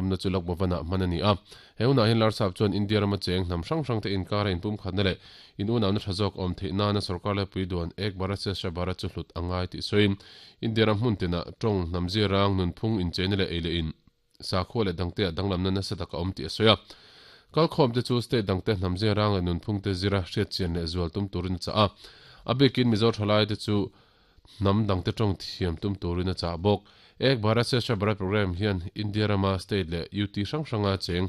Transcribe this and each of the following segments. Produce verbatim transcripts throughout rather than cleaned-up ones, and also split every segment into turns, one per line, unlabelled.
lomna chu Lok Bhavan ah hman ani a. He hunah hian Larsap chuan India rama cheng hnam hrang hrang te inkara inpum khatna leh in unau-na tha zawk awm theih nana sarkar laipui duan Ek Bharat Shreshtha Bharat chu hlut a ngai tih sawiin India ram hmun tinah tawng hnam zirang nunphung incheina leh ei leh in sakhua leh dangte ah danglamna nasa tak a awm tih a sawi a. Kalkhawm te chu state dangte hnam zirang leh nunphung te zira hriatchian leh zual tum turin a chah a. A bikin Mizo thalai te chu hnam dangte tawng thiam tum turin a chah bawk. Ek Bharat Shreshtha Bharat program hian India rama state leh U T hrang hranga cheng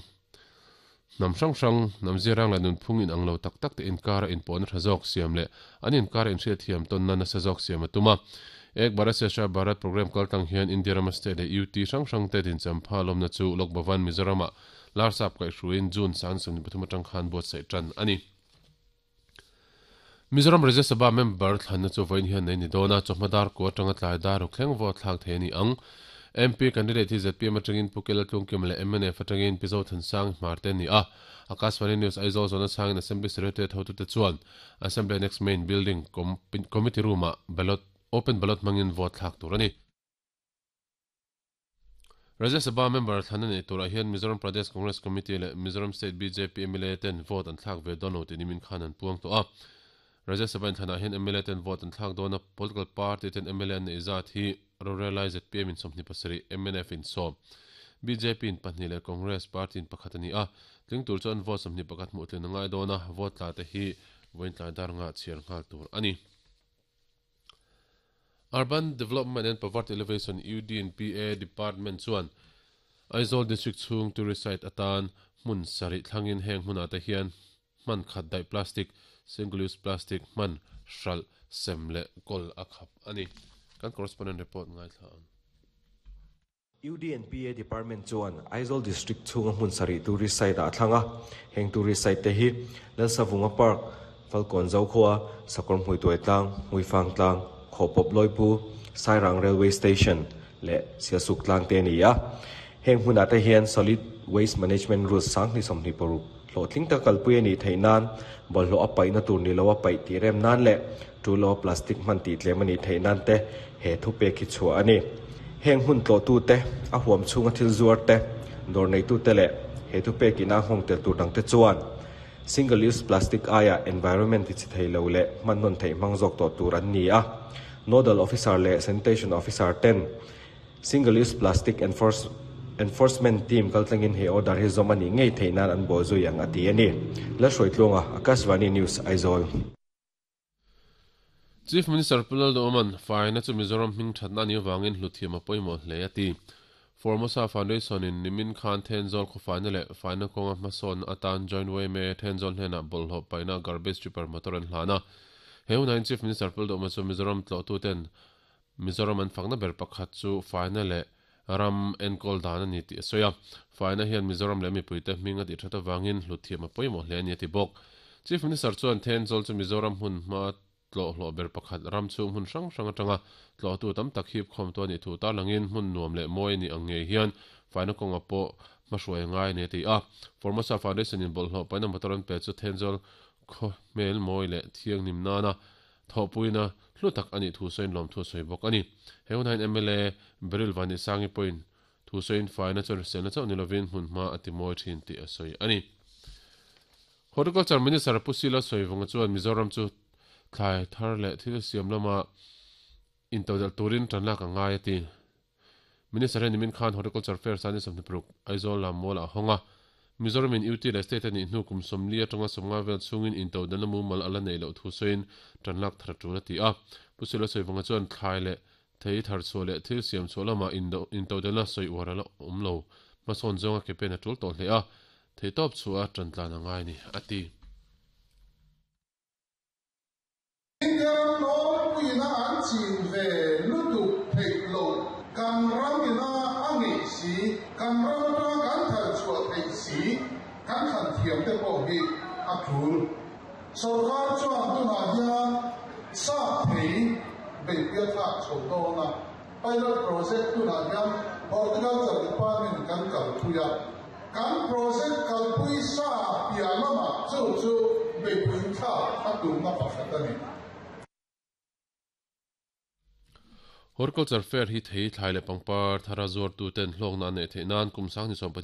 hnam hrang hrang hnam zirang leh nunphung inang lo tak tak te inkara inpawhna tha zawk siam leh an inkara inhriatthiam tawnna nasa zawk siam a tum a. Ek Bharat Shreshtha Bharat program kaltlang hian India rama state leh U T hrang hrang te dinchampha lawmna chu Lok Bhavan Mizoramah Larsap kaihhruaiin June sang sawmhnih pathum atang khan buatsaih tan a ni. Mizoram Rajya Sabha member thlanna chu vawiin hian nei ni dawn a, chawhma dar kua atanga tlai dar ruk thleng vote thlak thei a ni ang. M P candidate hi Z P M atangin Pu Kela Tlungkim leh M N F atangin Pi Zothansang Hmarte a ni a. Akashvani News Aizawl zawhna chhangin Assembly Secretariat hotute chuan Assembly Annex Main Building Committee Room-ah ballot open ballot hmangin vote thlak tur a ni. Rajya Sabha member thlan a neih turah hian Mizoram Pradesh Congress Committee leh Mizoram State B J P M L A ten vote an thlak ve dawn lo tih nimin khan an puang tawh a. Rajya Sabha inthlanah hian M L A ten vote an thlak dawn a, political party ten M L A an neih zat hi rorel lai Z P M in sawmhnih pasarih, M N F in sawm, B J P in pahnih leh Congress party in pakhat a ni a. Tling tur chuan vote sawmhnih pakhat hmuh tlin a ngai dawn a, vote tla te hi vawiin tlai dar nga chhiar nghal tur a ni. Urban Development and Poverty Alleviation U D and P A Department chuan Aizawl District chhung tourist site atan hmun sarih thlangin heng hmunah te hian hman khat daih plastic, single use plastic hman hralh sem leh kawl a khap a ni. Kan correspondent report ngaithla ang.
U D and P A Department chuan Aizawl District chhunga hmun sarih tourist site ah thlanga heng tourist site te hi Lalsavunga Park, Falkawn Zokhua, Sakawr Hmuituai Tlang, Hmuifang Tlang, Khawpawp Loipu, Sairang Railway Station leh Sialsuk Tlang te a ni a. Heng hmunah te hian Solid Waste Management Rules sanghnih sawmhnih paruk hlawhtling tak kalpui a nih theih nan, bawlhhlawh a paihna tur ni lo a paih tih rem nan leh tu lo plastic hman tih tlem a nih theih nan te he thu pek hi chhuah a ni. Heng hmun tlawhtu te, a huam chhunga thil zuar te, dawr neitu te leh he thu pek ina nghawng tel tur dang te chuan single use plastic aia environment ti chi thei lo leh hman nawn theih hmang zawk tawh tur an ni a. Nodal officer leh sanitation officer ten single use plastic enforce enforcement team kaltlangin he order hi zawm a nih ngei theih nan an bawh zui ang a ti a ni. Lalhruaitluanga, Akashvani News, Aizawl.
Chief Minister Pu Lalduhoma'n faina chu Mizoram hming thatna a nih avangin hluthiam a pawimawh hle a ti. Formosa Foundation in nimin khan Thenzawl khawfaina leh faina kawnga hmasawn atan Joint Y M A Thenzawl hnenah bawlhhlawh paihna garbage tipper motor an hlan a. He hunah Chief Minister Pu Lalduhoma chu Mizoram tlawhtuten Mizoram an fakna ber pakhat chu faina leh ram enkawl dan a ni tih a sawi a. Faina hian Mizoram leh mipuite hming a tih that avangin hluthiam a pawimawh hle a ni a ti bawk. Chief Minister chuan Thenzawl chu Mizoram hmun hma tlawhhlawh ber pakhat ram chhung hmun hrang hrang atanga tlawhtu tam tak hip khawm tu a nih thu tarlangin hmun nuam leh mawi a nih ang ngei hian faina kawnga pawh hmahruai ngai a ni a ti a. Formosa Foundation in bawlhhlawh paihna motor an pe chu Thenzawl khaw hmel mawi leh thianghlim nana thawhpuina hlu tak a nih thu sawiin lawm thu a sawi bawk a ni. He hunah hian M L A Beryl Vanisangi pawhin thu sawiin faina chuan hriselna chauh ni lovin hmun hma a ti mawi thin tih a sawi a ni. Horticulture Minister Pu Sila Sawivunga chuan Mizoram chu thlai thar leh thil siam lama intodelh turin tan lak a ngai a ti. Minister hian nimin khan Horticulture Fair sani sawmhnih paruk Aizawl lam mall ah a hawng a. Mizoram in U T leh State a nih hnu kum sawmli atanga sawmnga vel chhungin intodelhna mumal a la neih loh thu sawiin tan lak thar a tul a ti a. Pu Sila Sawivunga chuan thlai leh thei thar chhuah leh thil siam chhuah lama intodelhna sawi uar a la awm lo. Hmasawn zawnga ke pen a tul tawh hle a. Thei tawp chhuah a tan tlan a ngai ni a ti.
India ram nawlpuina an chin ve lutuk theih loh, kan ram ina a ngeih si, kan ram atanga kan thar chhuah theih si, kan thlan thiam te pawh hi a tul. Sarkar chuan tunah hian sap thei beihpui a thlak chho dawn a, pilot project tunah hian Horticulture Department kan kalpui a, kan project kalpui sa piah lamah chu chu beihpui thlak a tumna pakhat a ni.
Horticulture Fair hi thei thlai leh pangpar thara zuartu ten hlawkna an neih theih nan kum sang ni sawm pahnih